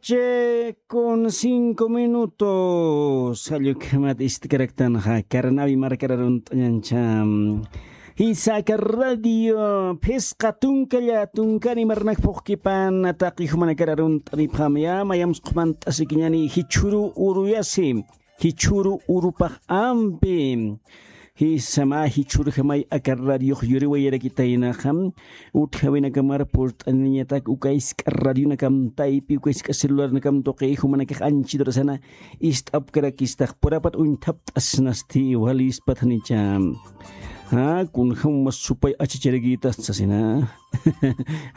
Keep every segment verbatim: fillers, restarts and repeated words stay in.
noche con cinco minutos. Allukhamat ist'karaktanxa, Carnavi markar arunt'añancha. Jisa aka radio phisqa tunkalla tunkani marnak phuqkipan taqi jumanakar arunt'anipxamaya, mayamsq'umant'asikiñani jichhuru uruyasi. Jichhuru urupax ampi. Jisa mä jichhurjamay aka radiox yuriwayarakitaynaxa. Utjawinakamar purt'aninañatak uka isk'a radionakam taypi, uka isk'a celularnakam tuqi, jumanakax anchidurasana ist'apkarakistax purapat uñthapt'asnasti walispat janicha. Ja, kunjam mas supay achicharakitas sasina.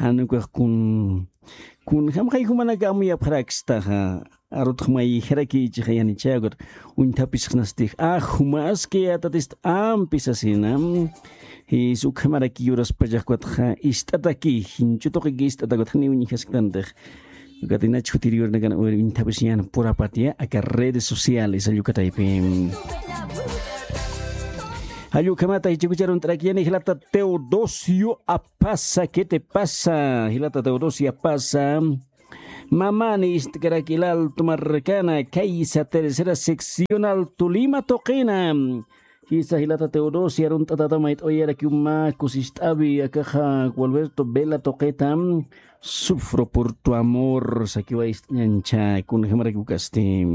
Janukax kun kunjam jay jumanaka amuyapxarakstaxa. Arutxmay jarakichixayanicha ukat uñthapisxnastix a jumaski atatist ampi sasina. Jis ukhamaraki yuraspachax ukatxa ist'ataki, jinchutuqiki ist'atakat jani uñjasktantax. Ukatinach jutir yuranakan uñthapisiñan purapatya aka redes sociales allukataypi. Jallukhamata jichikucharunt'arakiyani jilata Teodosio Apasa, ¿qué te pasa? Jilata Teodosio Apasa. Mamani ist'karak ilaltu markana kaysa tercera seccional Tolima tuqina. Jisa jilata Teodosia arunt'atata mayt'awayarakiw mä kusist'awi akaxa Gualberto Vela tuqita. Sufro por tu amor sakiwa ist'añancha kunjamarakiw kasti.